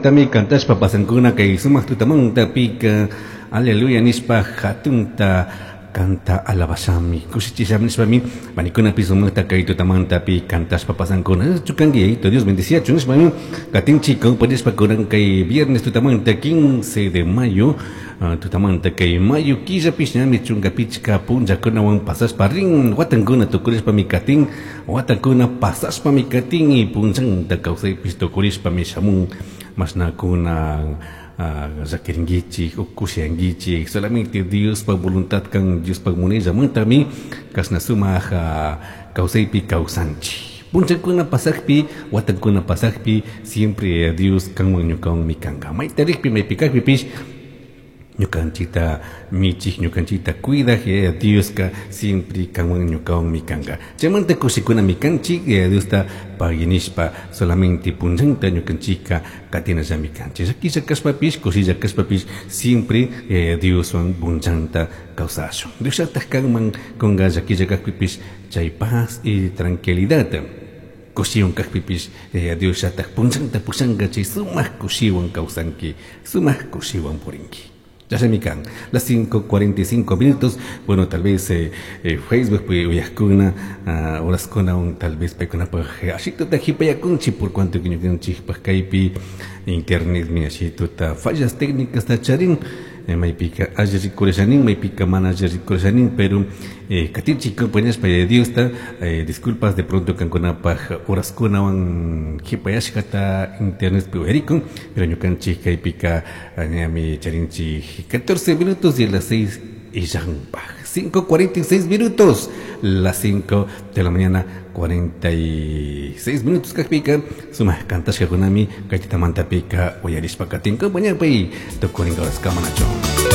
Sumajtami cantashpa pasankuna kay sumaq tutamantapika aleluya nishpa hatunta kanta alabashami kushichishami nishpami panikunapi sumaqta kay tutamantapi cantashpa pasankuna. Chukanki yayito Dios bendiciachu nishpami katinchik compañashpa kunan kay viernes tutamanta 15 de mayo tutamanta kay mayo killapish ñami chunka pichka punllakunawan pasashpa rin watankuna tukurishpami katin watakuna pasashpami katin y punllanta kawsaypish tukurishpami shamun mashnakuna llakirinkichik o kushiyankichik solamente Diospa voluntad kan Diospa munayllamantami kashna sumaq kawsaypi kawsanchik punllakuna pasakpi watankuna pasakpi siempre Dios kanwan ñukawanmi kanka mayta rikpi maypi kakpipish ñukanchikta michik ñukanchikta cuidaj Yaya Dioska siempre kanwan ñukawanmi kanka chaymanta kushikunami kanchik Yaya Diosta pagui nishpa solamente punllanta ñukanchikka katinallami kanchik llakilla kashpapish kushilla kashpapish siempre Yaya Dioswan punllanta kawsashun Diosllataj kanman kunka llakilla kakpipish chay paz y tranquilidad kushiwan kakpipish Yaya Diosllataj punllanta pushanka chay sumaq kushiwan kawsanki sumaq kushiwan purinki. Chashnami kan las 5:45 minutos. Bueno, tal vez Facebook uyajkuna horaskunawan tal vez paykunapaj ashituta jipayakunchik por cuanto que ñukanchikpaj kaypi internetmi ashituta fallas técnicas ta charin maypika alli rikurishanin maypika mana alli rikurishanin pero katinchik compañashpa Yaya Diosta disculpas de pronto kankunapaj horaskunawan jipayashkata internetpi uyarikun pero ñukanchik kaypika ñami charinchik 14 minutos y las 6 y llanpaj 5:46 minutos, las 5 de la mañana 46 minutos kakpika sumaq kantashkakunami kay tutamantapika uyarishpa katin compañapay tukurin horas kamanacho.